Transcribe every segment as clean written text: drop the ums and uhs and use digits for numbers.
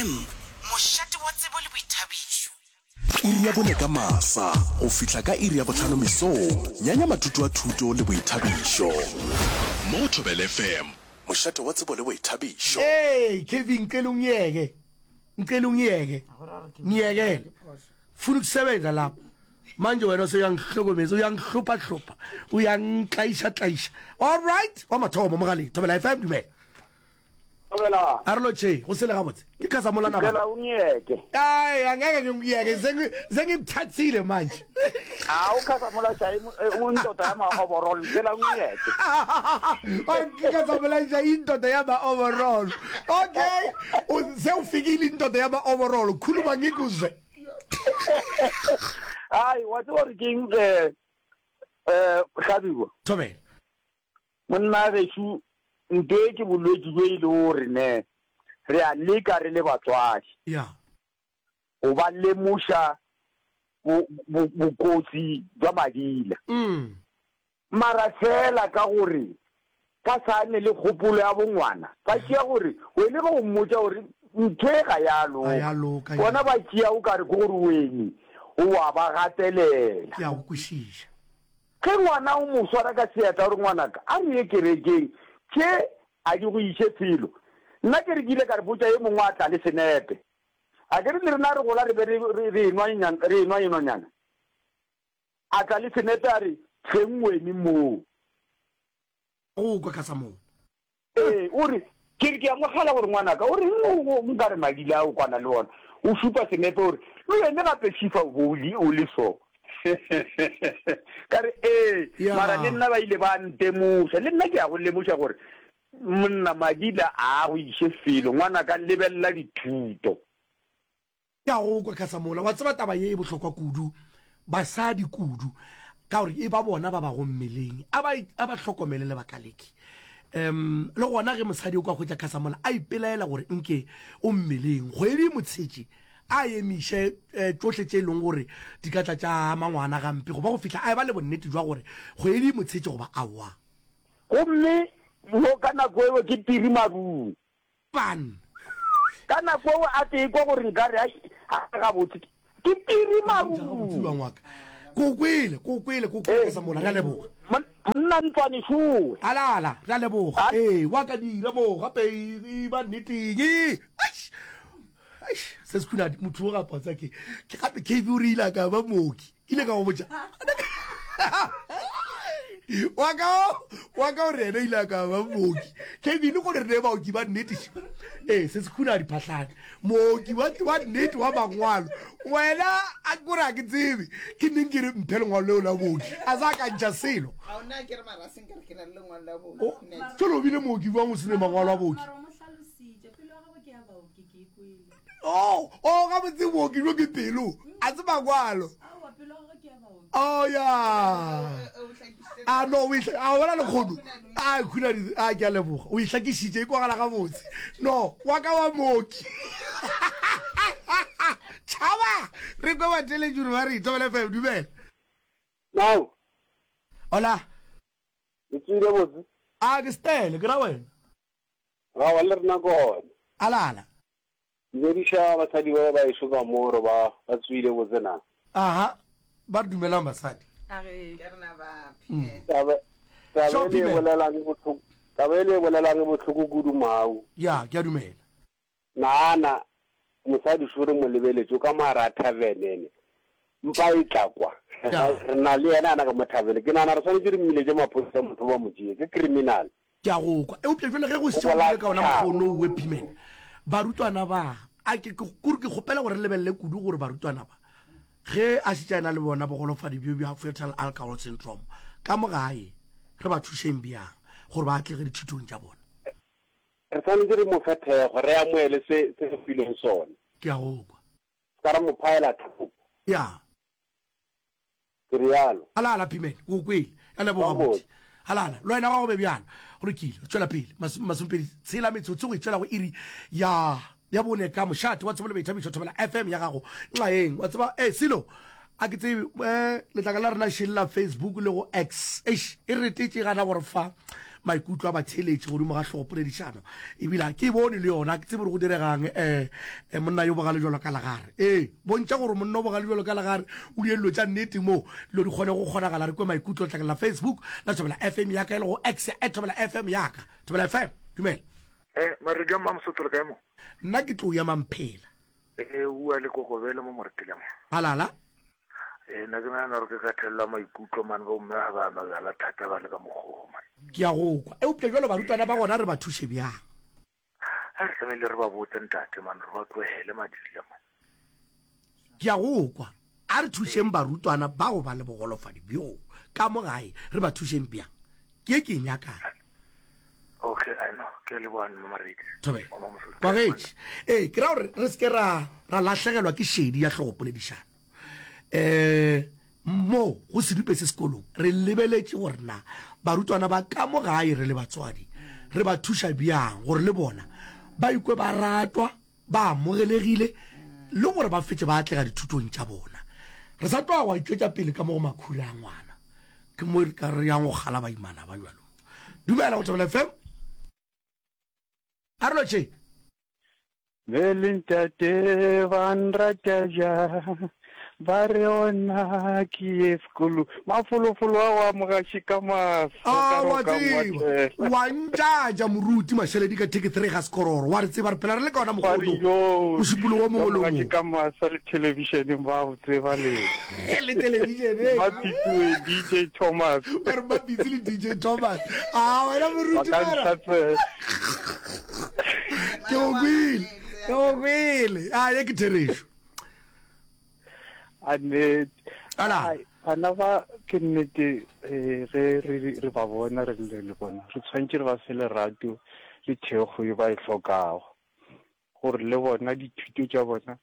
FM, mošate wa tsebo le boithabišo. Iri ya bone ka masa go fihla ka iri ya bohlano mesong, nyanya mathuto a thuto le boithabišo. Mo go Thobela FM, mošate wa tsebo le boithabišo. Hey Kevin ngicela ungiyeke ngicela ungiyeke ngiyekele funa ukusebenza lapha manje wena useyangihlokomeza uyangihlupha hlupha uyangitlaisha tlaisha all right wa mathomo mogaleng thobela fm dumela Thobela. A re lotšhe, go sele gabotse. Ke Khasamola na bana. Ngicela ungiyeke. Ai, angeke ngikuyeke, sengikuthathile manje. Hawu Khasamola shayi indoda yama overall, ngicela ungiyeke. Khasamola shayi indoda yama overall. Okay, sewufikile indoda yama overall, khuluma ngikuzwe. Ai, wa tseba gore ke eng eh eh Hlabiwa. Thobela. Monna gešo, nto e ke bolwetši bjo e lego gore ne re a leka re le batswadi go ba lemoša bokotsi bja madila. Mara feela ka gore ba sa ne le kgopolo ya bongwana, ba tšea gore wene ge o mmotša gore ntho e ga ya loka, bona ba tšea o ka re ke gore wene o a ba gatelela. Ke a go kwešiša. Ge ngwana o mo swara ka seatla o re, Ngwanaka, a re ye kerekeng, tše a di go iše felo. Nna ke re ke ile ka re botša e mongwe a tla le senepe. A ke re le rena re gola re be re, re, re enwa, re enwa enwanyana. A tla le senepe a re, Hleng wene moo. Go kwa ka sa moo. Ee, o re, Ke re ke a mo kgala gore ngwanaka, o reng o nka re madila a o kwana le ona? O šupa senepe o re, Le wene gape Šifa o bo o le so. Ka re, Ee, mara le nna ba ile ba ntemoša. Le nna ke a go lemoša gore monna madila a go iše felo, ngwanaka lebelela dithuto. Ke a go kwa, Khasamola. Wa tseba taba ye e bohlokwa kudu, basadi kudu, ka gore e ba bona ba bago mmeleng. A ba, a ba hlokomele lebaka leke. Um, le gona ge mosadi o ka hwetša Khasamola a ipelaela gore nke o mmeleng, kgwedi e mo tshetše, a emiše eh, tšohle tše e leng gore di ka tla tša ama ngwana gampe, goba go fihla a eba le bonnete jwa gore kgwedi e mo tshetše goba aowa. Gomme mo ka nako eo ke piri marung. Pan. Ka nako eo a te ekwa gore nkare ai, ga gabotse, ke piri marung. Wa ngwaka. Ke o kwele, ke o kwele, ke o kwele ka sa mola. Re a leboga. Monna ntlwane šowe. Ala, ala, re a leboga. Ee, wa ka dira mo gape e ba nneteng. Eish, eish, se se khunadi, motho o gape wa tseba ke, ke gape KB o re ile a ka ba mooki. Ke ile ka go botša. Wa ka, wa ka o re yena ile a ka ba mooki. KB le gore re ne baoki ba nnete. Ee, se se khuna diphahlane. Mooki wa, wa nnete wa mangwalo. Wena a ke gore a ke tsebe. Ke neng ke re mphe lengwalo leo la booki. A sa ka ntša selo. Ga o na ke re mara se nkare ke na le lengwalo la booki. O, tšolo o bile mooki bjang o se ne mangwalo a booki? Mara o mo hlalositše, pelo ya gagwe ke ya baoki, ke e kwele. Oh, oh, gabotse booki bjo ke pelo, a se mangwalo. Oh, ya. A no, o e a bona lekgono. A khuna di, a ke a leboga. O e hlakišitše, e kwagala gabotse. No, wa ka wa mooki. Tšhaba! Re kwe batheeletši gore ba re, Thobela FM, dumela. Now. Hola. Le tswile botse? A ke stele, ke ra wena. Gawa le rena gona. Alala. Dumediša basadi ba ba ešo ka mo gore ba ba tsoile botse na. Aha, ba re dumelang basadi. Ke rena ba Phimen. Taba taba e le e bolelang e bohloko taba e le e bolelang e bohloko kudu mau. Ya, ke a dumela. Nagana mosadi šo re mo lebeletše o ka mo gare a tavern ene mpa e tla kwa. Re na le yena ana ka mo tavern. Ke nagana re swanetše re mmiletše maphodisa motho ba mo tšee ke criminal. Ke a go kwa. Eupša bjale ge go šetše go bile ka ona mokgwa ono owe, Pimen, barutwana ba, a ke, ke, kore ke kgopela gore re lebelele kudu gore barutwana ba, ge a šetše a na le bona bogolofadi bjo bja fetal alcohol syndrome, ka mo gae, re ba thušeng bjang gore ba atlege dithutong tša bona. Re swanetše re mo fe thekgo, re amohele se, se re filweng sona. Ke a go kwa. Se ka ra mo phaela thoko. Ya. Ke realo. Halala, Phimen, ke go kwele. Ka leboga, buti. Halala, le wena gwa go be bjalo. Go lokile, re tšwela pele. Masomepedi tshela metsotso go e tšwela go iri ya ya bone ka mošate wa tsebo le boithabišo Thobela FM ya gago nxaeng. Wa tseba, eh, selo, a ke tsebe, eh, letlaka la rena šele la Facebook le go X. Eish, e retetše gana gore fa. maikutlo a batheeletši godimo ga hlogopoledišano. Ebile ga ke e bone le yona, ga ke tsebe gore go diregang. Um monna yo bogale bjalo ka legare. Ee, bontšha gore monna o bogale bjalo ka legare, o die dilo tša nnete mo dilo di kgone go kgonagala. Re kwe maikutlo letlakeng la Facebook la Thobela FM ya ka, e lego X ya at Thobela FM ya ka. Thobela FM, dumela. Eh, Maredi a Mmamosotho le kae mo? Nna ke tlo ya Mamphela. Eh, ua le kokobele mo Moretele mo. Halala. Eh, nna ke nagana gore ke ka thelela maikutlo man bomme ga ba nwa bjala thata ba le ka mokgogo man. Ke a go kwa. Eupša bjalo barutwana ba gona re ba thuše bjang? A re tlamehile re ba botse ntate man re ba tlohele madila man. Ke a go kwa. A re thušeng barutwana ba go ba le bogolofadi bjoo ka mo gae. Re ba thušeng bjang? Ke ye ke e nyakang. Okay, I know. Ke a leboga Mma Maredi. Thobela. Kwagetše. Ee, ke ra gore re se ke ra ra lahlegelwa ke šedi ya hlogopoledišano. Um mo go sedupe se sekolong re lebeletše gore na barutwana ba ka mo gae re le batswadi re ba thuša bjang gore le bona ba ikwe ba ratwa ba amogelegile le gore ba fetše ba atlega dithutong tša bona. Re sa tloga gwa itšwetša pele ka mo go makhura a ngwana. Ke mo re ka re yang go kgala baimana ba bjalo. Dumela go Thobela FM. A re lotšheng. Be le ntate ba nrata bjang ba re ona ke ye sekolo mafolofolo a go amogaše ka maso Ah, wa tseba wa ntšatša moruti mašaledi ka theke three ga sekororo wa re tseba re phela re le ka ona mokgono mošupologo o mongwe le o mongwe ka masa le thelebišeneng ba go tseba le le thelebišeneng ba pitsoe DJ Thomas ba re ba pitse le DJ Thomas a wena moruti ba ka ke go kwele ke go kwele a ye ke therešo A nnete. Ala. Bana ba ke nnete eh, ge re re ba bona re le le bona re tshwanetse re ba fe lerato le thekgo e ba e hlokago gore le bona dithuto tša bona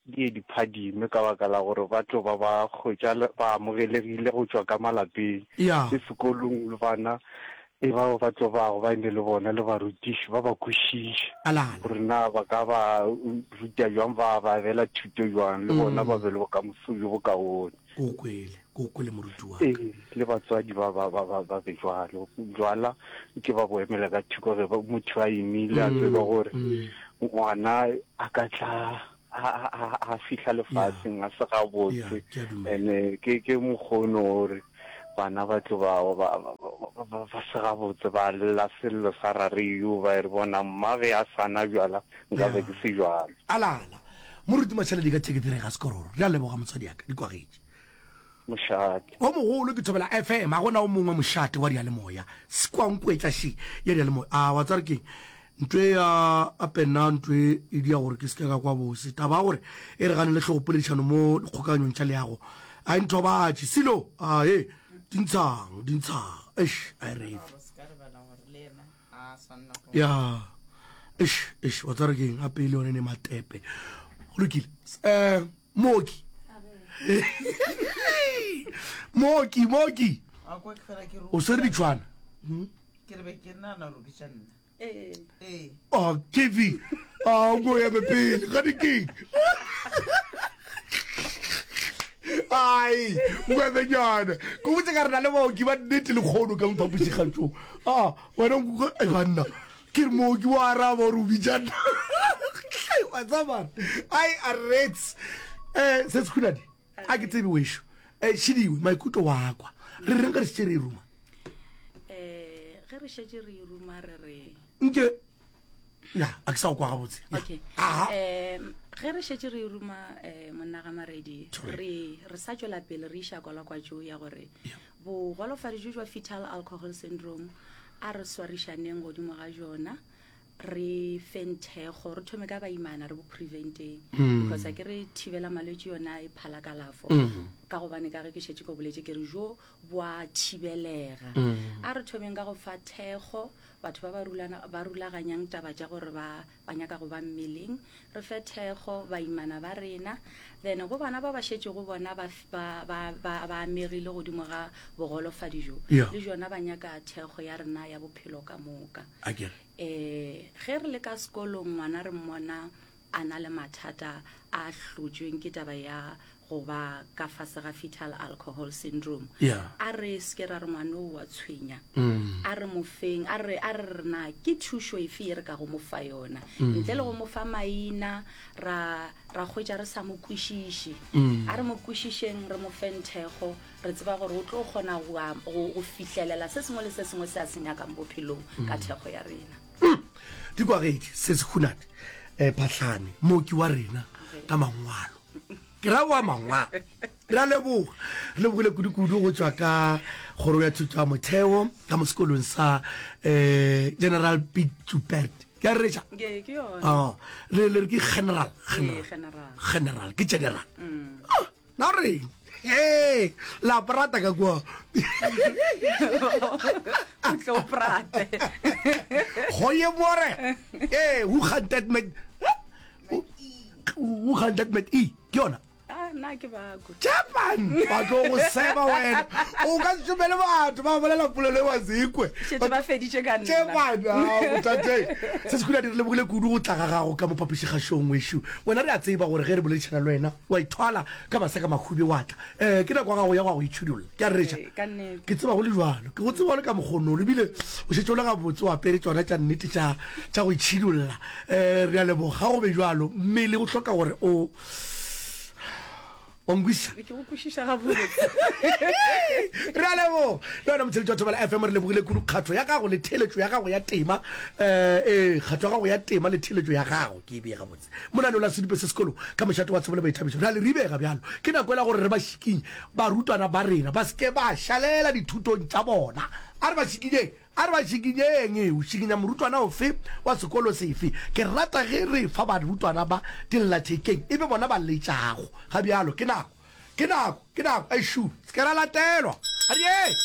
di ye di phadime ka baka la gore ba tlo ba ba hwetša ba amogelegile go tšwa ka malapeng le sekolong le bana E bao ba tlo bago ba eme le bona le barutiši ba ba kwešiše gore na ba ka ba ruta bjang, ba ba abela thuto bjang, le bona ba be le bokamoso bjo bokaone. Ke o kwele, ke o kwele moruti wa ka. Ee, le batswadi ba ba ba ba ba be jwalo. Jwala ke ba bo emela ka thoko ge motho a imile a tseba gore ngwana a ka tla a a a fihla lefaseng a se gabotse ene ke ke mokgono gore bana ba tlo ba ba ba se gabotse ba lla sello sa rare yo ba re bona mma ge a sana bjala nka be ke se jwalo. Alala moruti Mashaledi ka thekethere ga sekororo re a leboga motswadi ya ka di kwagetše. Mošate. O mogolo ke Thobela FM, ga gona o mongwe mošate wa diyalemoya. Sekwankwetla še ya diyalemoya. A wa tsare keng? Ntwe ya ape nna ntwe e dia gore ke seke ka kwa bose. Taba ya gore e re ganele hlogopoledišano mo dikgokaganyong tša leago a e nthobatše. Silo, a he, di ntshang, di ntshang. Eish, a e refe. Ya, eish, eish, wa tsare keng? Ape e le yone ne matepe. Go lokile. Eh, mooki mooki mooki o swere ditšhwana hmm? oh, kv a o ya pele ga di keng ai ngwebenyana ko botse ka re na le baoki ba nnete le kgono ka mophapošikgatšong a wena banna Ke re mooki wa araba gore o bitša nna. Wa tseba ai a rets. Eh se sekhulane. A ke tsebe wešo. Eh šidiwe maikutlo wa kwa. Re reng ge re šetše re e ruma? Eh ge re šetše re e ruma re re Nke ya a ke sa go kwa gabotse. Okay. Aha. Um ge re šetše re e ruma eh monna ga Maredi re re sa tšwela pele re iša kwalakwatšo ya gore Bogolofadi bjo jwa fetal alcohol syndrome a re swarišaneng godimo ga jona re feng thekgo re thome ka baimana re bo preventeng mm. because a ke re thibela malwetse yona e phala kalafo mm. ka gobane ka ge ke šetše ko boletse ke re jo bo a thibelega mm. a re thomeng ka go fa thekgo batho ba ba rulaganyang taba tša gore ba ba nyaka go ba mmeleng re fe thekgo baimana ba rena then go bana ba ba šetšego bona ba, ba, ba, ba, ba amegile godimo ga bogolofadi jo Yeah. le jona ba nyaka thekgo ya rena ya bophelo ka moka A ke re. um ge re le ka sekolong ngwana re mmona a na le mathata a hlotšweng ke taba ya go ba ka fase ga fetal alcohol syndrome. Yeah. A re se ke ra re ngwana o wa tshwenya. Mm. A re mo feng, a re, a re re na ke thušo efe ye re ka go mo fa yona. Mm. Ntle le go mo fa maina, ra, ra hwetša re sa mo kwešiše. Mm. A re mo kwešišeng, re mo feng thekgo, re tseba gore o tlo kgona go, go, go fihlelela se sengwe le se sengwe se a se nyakang bophelong ka Mm. thekgo ya rena. Mm. Dikwagedi, se se hunate, eh, Phahlane, mooki wa rena ka mangwalo. Ke ra wa mangwalo. Re a leboga. Re lebogile kudu-kudu go tšwa ka kgoro ya thuto ya motheo ka mo sekolong sa eh, General Piet Joubert. Ke a reretša? Ke, ke yona. Oh, le le re ke general, Ee, general. general. General, ke general. Mm. Ah, na o reng? Hey, la prata ka kua. O tlo prate. Goeie môre. Eh, hoe gaan dit met Hoe gaan dit met u? Ke yona? Ah, nna ke bako. Japan, ba tlo go seba wena. O ka se šomele batho ba bolela polelo e wa sekwe. Šetše ba feditše ka nna. Japan, ah, botate. Se se khula di re lebogile kudu go tla ga gago ka mo phapošigašong wešo. Wena re a tseba gore ge re boledišana le wena wa ithwala ka maseka mahube wa tla. Eh, ke nako ya gago ya go ya go itšhidulla. Ke a rereša. Ee, ka nnete. Ke tseba go le bjalo. Ke go tseba o le ka mokgonolo ebile o šetše o le gabotse o apere tšona tša nnete tša tša go itšhidulla. Eh, re a leboga. Ga go be bjalo, mmele o hloka gore o wa nkwešiša. Ke go kwešiša gabotse. Re a leboga. Le wena motheeletši wa Thobela FM re lebogile kudu kgatho ya gago le theeletšo ya gago ya tema. Eh, ee, kgatho ya gago ya tema le theeletšo ya gago ke e bee gabotse. Monaneo la Sedupe se Sekolo ka mošate wa tsebo le boithabišo. Re a le ribega bjalo. Ke nako ela gore re ba šikinye barutwana ba rena ba se ke ba šalela dithutong tša bona. A re ba šikinyeng, a re ba šikinyeng. O šikinya morutwana ofe wa sekolo sefe? Ke rata ge re fa barutwana ba dillathekeng e be bona ba letšago. Ga bjalo ke nako, ke nako, ke nako. Eišu, se ke ra latelwa. A re ye!